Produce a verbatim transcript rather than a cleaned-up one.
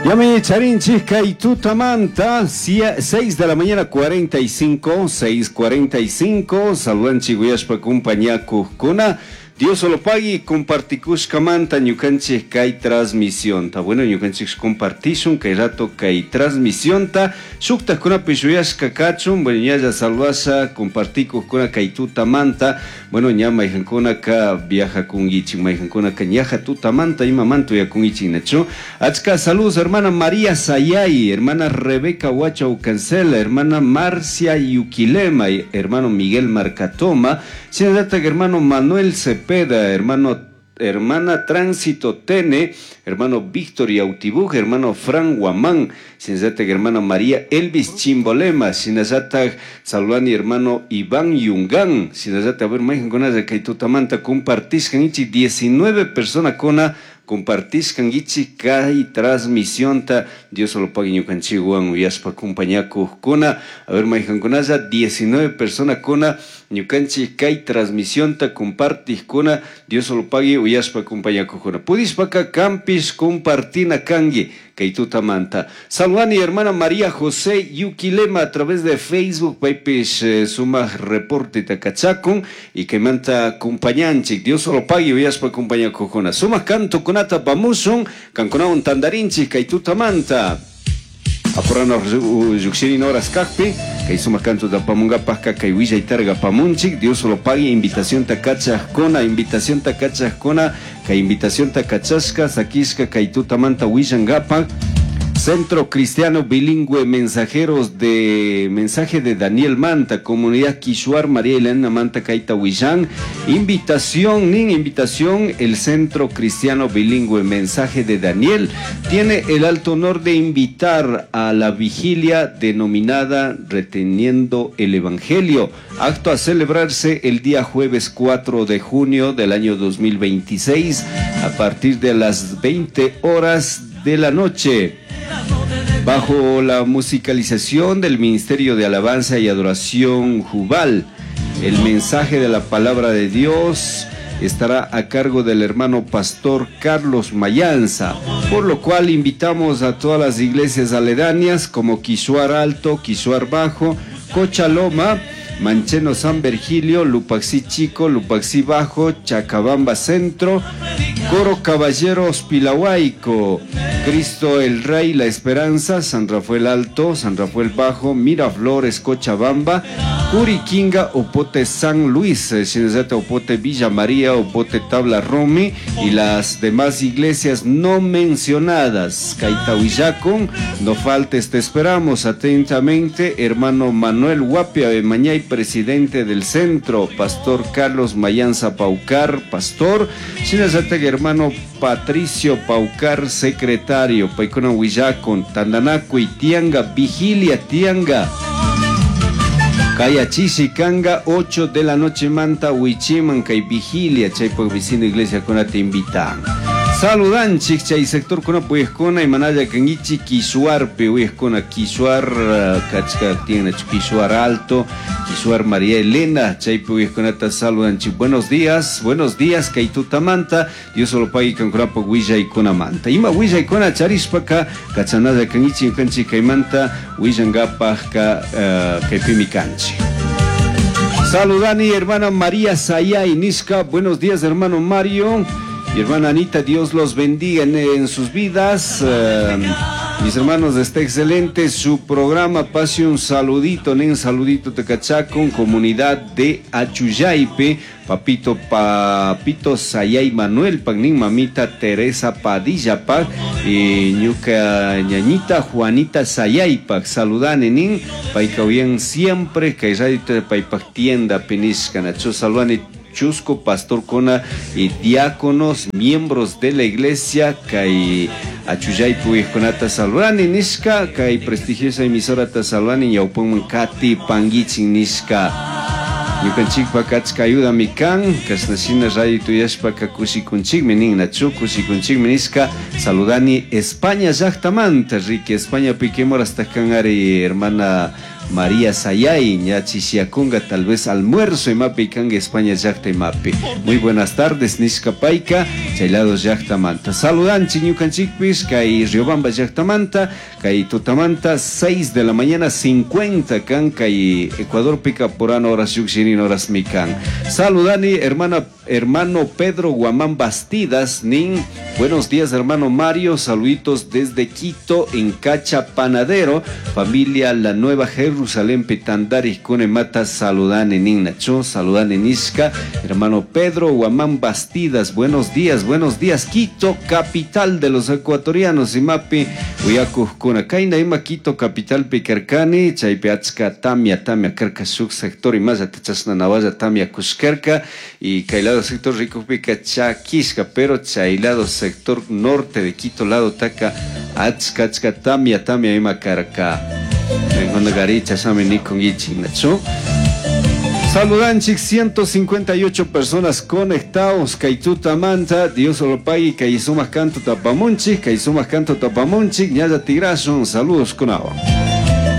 Yami charinchik kay tutamanta seis de la mañana cuarenta y cinco, seis cuarenta y cinco. Saludanchik uyashpa kumpañakuqkuna. Dios lo pague compartikushkamanta ñukanchik kay transmisionta. Bueno, ñukanchik compartishun kay rato kay transmisionta shuktajkunapish uyashka kachun. Bueno, ñalla saludasha compartikuqkuna kay tutamanta. Bueno, ña mayqankunaka viajakunkichik, mayqankunaka ñaja tutamanta imamanta uyakunkichik, nachu? Achka saludos: hermana María Sayay, hermana Rebeca Huachau Cancela, hermana Marcia Yuquilema, hermano Miguel Marcatoma, shinallatak hermano Manuel Cepeda, hermano hermana Tránsito Tene, hermano Víctor Yautibuj, hermano Fran Guamán, shinallatak hermana María Elvis Chimbolema, shinallatak saludani hermano Iván Yungán, shinallatak, a ver, mayqankunalla kay tutamanta compartishkankichik. diecinueve personakuna compartishkankichik kay transmisionta. Dios lo pague ñukanchikwan uyashpa kumpañakuqkuna. A ver, mayqankunalla diecinueve personakuna ñukanchik kay transmisionta compartiqkuna, Dios lo pague uyashpa kumpañakuqkuna. Pudishpaka kanpish compartina kanki kay tutamanta. Saludani hermana María José Yuquilema a través de Facebook, paypish eh, sumaq reporte kachakun y kaymanta kumpañanchik. Dios lo pague uyashpa kumpañakuqkuna. Sumaq kantukunata apamushun, kankunawan tandarinchik kay tutamanta. Apurano llukshirin horas kakpi, kay sumaq kantuta apamunkapajka kay willaytarqa apamunchik. Dios lo pague invitacionta kachajkuna, invitacionta kachajkuna, kay invitacionta kachashka, sakishka kay tutamanta willankapak. Centro Cristiano Bilingüe Mensajeros de Mensaje de Daniel Manta, Comunidad Quishuar María Elena Manta Kaita Huillán. Invitación, nin invitación, el Centro Cristiano Bilingüe Mensaje de Daniel tiene el alto honor de invitar a la vigilia denominada Reteniendo el Evangelio, acto a celebrarse el día jueves cuatro de junio del año dos mil veintiséis a partir de las veinte horas de la noche, bajo la musicalización del Ministerio de Alabanza y Adoración Jubal. El mensaje de la palabra de Dios estará a cargo del hermano pastor Carlos Mayanza, por lo cual invitamos a todas las iglesias aledañas como Quishuar Alto, Quishuar Bajo, Cochaloma, Mancheno San Virgilio, Lupaxí Chico, Lupaxí Bajo, Chacabamba Centro, Coro Caballeros Pilahuaico, Cristo el Rey, La Esperanza, San Rafael Alto, San Rafael Bajo, Miraflores, Cochabamba, Curiquinga, Opote San Luis, Shinazata Opote Villa María, Opote Tabla Rumi y las demás iglesias no mencionadas. Kaita willakun, no faltes, te esperamos atentamente, hermano Manuel Guapia de Mañay, presidente del centro, pastor Carlos Mayanza Paucar, pastor, Shinazata hermano Patricio Paucar, secretario. Paykuna willakun, tandanakuy tianga, vigilia tianga. Kaya chishi kanga ocho de la noche manta wichiman kay vigilia chaypak vecino iglesia kuna te invitan. Saludanchik chay sector kuna uyajkuna imanalla kankichik Quishuarpi uyajkuna, Quishuar kachka tiene Quishuar Alto, Quishuar María Elena, chaypi uyajkunata saludanchik. Buenos días, buenos días kay tutamanta. Dios lo pague kankunapaq willaykunamanta. Ima willaykuna charishpaka kachanalla kankichik ñukanchik kaymanta willankapajka uh, kaypimi kanchik. Saludani hermana María Sayay Nishka. Buenos días, hermano Mario y hermana Anita, Dios los bendiga en, en sus vidas. Uh, mis hermanos, está excelente su programa. Pase un saludito, nen saludito Tecachacon, comunidad de Achuyaipe, papito Papito Sayay Manuel, Pagnin mamita Teresa Padilla Pag, y ñuka ñañita Juanita Sayaypak, saludane nin, payka bien siempre, que paypak tienda penishka, nacho saludane chusco pastorkuna y diáconos, miembros de la iglesia, kay Achuyaypi uyajkunata saludani nishka, kay prestigiosa emisora ta saludani ñawpaman katipanguichik nishka. Ñukanchikpak achka ayudami kan, kashna shina radio tuyashpaka kushikunchikmi nin, nachu kushikunchikmi nishka. Saludani España llaktamanta, riki España piquimor hasta kan ari hermana María Sayay ña chishiakunga tal vez almuerzo imapi kanga España llakta imapi. Muy buenas tardes nishka payka chay lado llaktamanta. Saludanchik ñukanchikpish kay Riobamba llaktamanta kay tutamanta seis de la mañana cincuenta kan kay Ecuadorpika purana horas llukshirin horasmi kan. Saludani hermana hermano Pedro Guamán Bastidas nin buenos días hermano Mario, saluditos desde Quito en Cacha Panadero, familia La Nueva Jerusalén Pitandari Mata saludani nin nacho, saludani nishka hermano Pedro Guamán Bastidas, buenos días, buenos días Quito, capital de los ecuatorianos imapi uyakujkuna kayna ima Quito capital pikarkani chaypi achka tamia tamia karka shuk sector imallata chashna nawalla tamia kushkarka y kay lado sector rikukpika chakishka pero chay lado sector norte de Quito lado taka achka achka tamia tamia ima karka gari chashami nikunkichik nachu. Saludanchik ciento cincuenta y ocho personas conectados kay tutamanta, Dios lo pague kay sumaq canto tapamunchik, kay sumaq canto tapamunchik, ñalla tigrasun, saludos kunawan.